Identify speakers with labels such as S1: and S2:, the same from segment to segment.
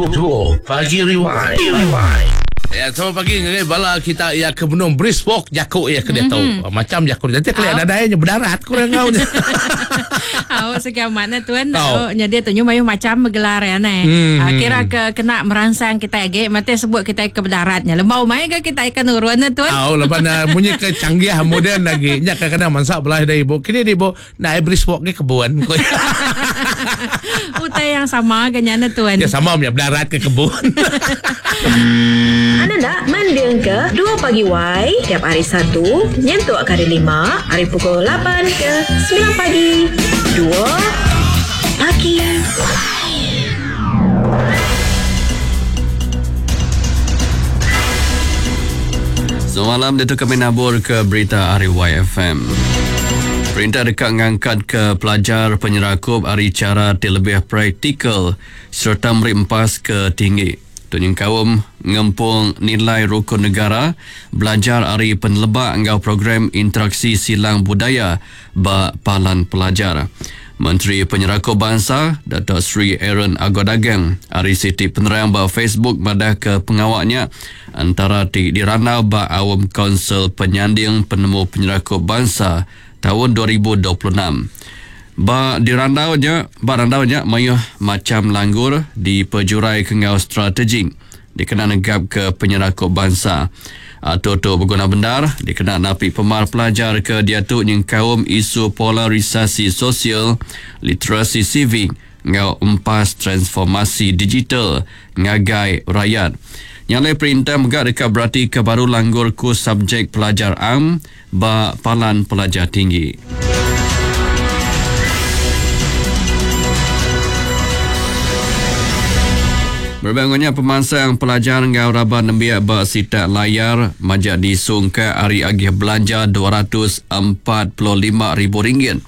S1: Dua Pagi Rewind. Rewind. Ya, selamat pagi ngagai bala kita ya ke benung brisk walk jaku ya ke diatu. Mm-hmm. Macam jaku nanti kali ada daya nya berdarat kurang ngau nya.
S2: Au segi amat ne tuan. Au nyadi tu nyu mayuh macam gelar ya ne. Mm-hmm. Kira ke kena meransang kita agi mati sebut kita ke berdarat nya. Lembau mai ke kita ikan urun ne tuan.
S1: Au laban uh, munyi ke canggih moden lagi. Nya kadang-kadang mansa belah da ibu. Kini di ibu Nah, brisk walk ke kebun.
S2: Utai yang sama ke nya tuan.
S1: Ya sama punya berdarat ke kebun.
S3: Anda nak mending ke 2 pagi Y tiap hari Satu nyentuk ke hari Lima hari pukul 8 ke 9 pagi. 2 pagi.
S4: Semalam ditu kami nabur ke berita ari YFM. Perintah deka ngangkat ke pelajar penyerakup ari chara ti lebih praktikal sereta meri empas ke tinggi. Tu nyengkaum ngempung nilai rukun negara, belajar ari peneleba enggau program interaksi silang budaya ba palan pelajar. Menteri Penyerakup Bansa, Dato Sri Aaron Ago Dagang ari siti penerang ba Facebook madahka pengawa nya entara ti dirandau ba Aum Kaunsil Penyanding Penemu Penyerakup Bansa taun 2026. Ba dirandau nya, ba randau nya mayuh macham langgur dipejuraika enggau strategik dikena negapka penyerakup bansa. Atur tu beguna bendar dikena napi pemar pelajar ke diatu nyengkaum isu polarisasi sosial, literasi sivik enggau empas transformasi digital ngagai rayat. Nya alai perintah mega deka beratika baru langgur kus subjek pelajar am ba palan pelajar tinggi. Berebak enggau nya, pemansang pelajar enggau raban nembiak ba sitak layar majak disungkak ari agih belanja RM245,000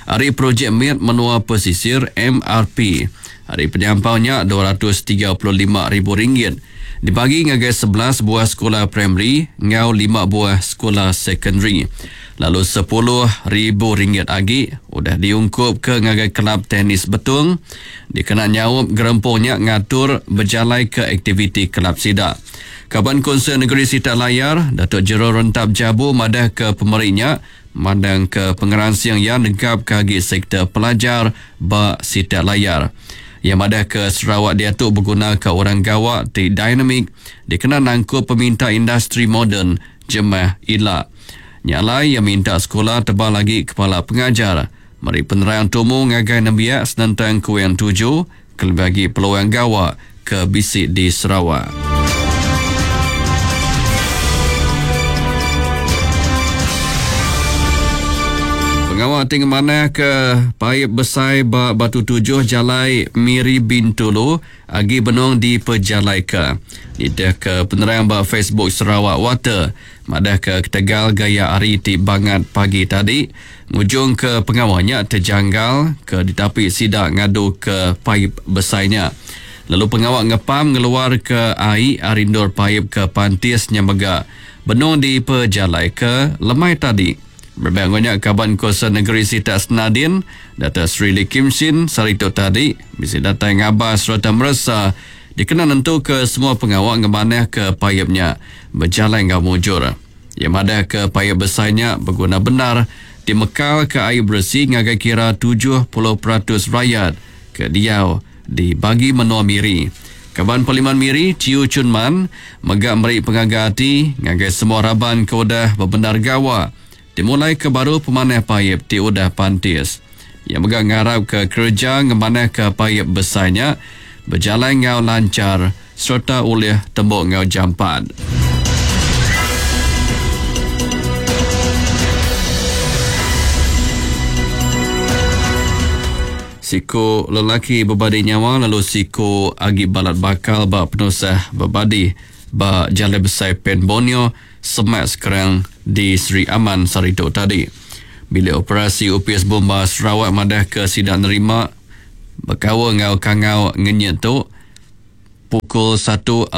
S4: ari Projek Mit Menua Pesisir, MRP. Ari penyampau nya, RM235,000 dibagi ngagai 11 buah sekula primari enggau lima buah sekula sekondari lalu RM10,000 agi udah diungkupka ngagai Kelab Tenis Betong dikena nyaup gerempung nya ngatur bejalaika aktiviti kelab sida. Kaban Kunsil Negeri Sitak Layar, Datuk Gerald Rentap Jabu madahka pemeri nya mandangka pengeransing iya negapka agi sektor pelajar ba sitak layar. Iya madahka Sarawak diatu begunaka orang gawa ti dinamik dikena nangkup peminta industri moden jemah ila. Nya alai iya minta sekula tebal agi kepala pengajar meri penerang tumu ngagai nembiak senentang kuing tuju kelebih agi peluang gawa ke bisi di Sarawak. Pengawa ti ngemanahka paip besai ba Batu Tujuh Jalai Miri Bintulu agi benung dipejalaika. Nitihka penerang ba Facebook Sarawak Water madahka ketegal gaya hari ti bangat pagi tadi ngujungka pengawa nya tejanggal ke ditapi sida ngaduka paip besai nya. Lalu pengawa ngepam ngeluarka ai ari endur paip ke pantis nya mega benung dipejalaika lemai tadi. Berebak enggau nya, Kaban Kuasa Negeri Sitak Senadin, Dato Sri Lee Kim Shin sehari tu tadi bisi datai ngabas sereta meresa dikena nentuka semua pengawa ngemanahka paip nya bejalai enggau mujur. Iya madahka paip besai nya beguna bendar ti mekalka ai beresi ngagai kira 70% rayat ke diau di bagi menua Miri. Kaban Parlimen Miri, Chiew Chun Man mega meri pengaga ati ngagai semua raban ke udah bebendar gawa ti mulaika baru pemanah paip ti udah pantis. Iya mega ngarapka kereja ngemanahka paip besai nya bejalai enggau lanchar sereta ulih tembu enggau jampat. Siku lelaki bebadi nyawa lalu siku agi balat bakal ba penusah bebadi ba Jalai Besai Pan Borneo semak Skrang di Sri Aman sehari tu tadi. Bilik Operasi Opis Bomba Sarawak madahka sida nerima bekaul enggau kangau ngenyit tu pukul 1.46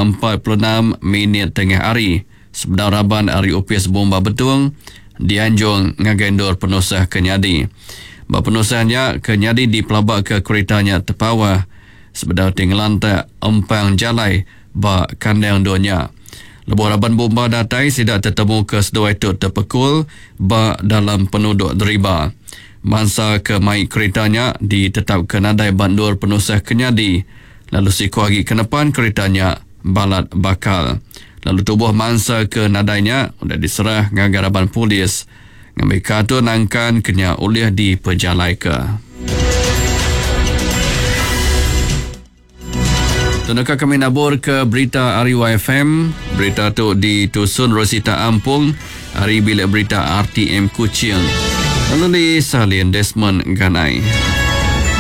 S4: minit tengah hari sebedau raban ari Opis Bomba Betong dianjung ngagai endur penusah ke nyadi. Ba penusah nya ke nyadi dipelabaka kerita nya tepawah. sebedau ti ngelantak empang jalai ba kandang endur nya. Lebuh raban bomba datai sida tetemuka seduai tu tepekul ba dalam penuduk deriba. Mansa ke mai kerita nya ditetapka nadai ba endur penusah ke nyadi lalu siku agi ke nepan kerita nya balat bakal lalu tubuh mansa ke nadai nya udah diserah ngagai raban polis ngambika atur nangkan ke nya ulih dipejalaika. Tunaka kami nabur ke berita ari YFM. Berita tu ditusun Rosita Ampung ari Bilik Berita RTM Kuching. Lalu disalin Desmond Ganai.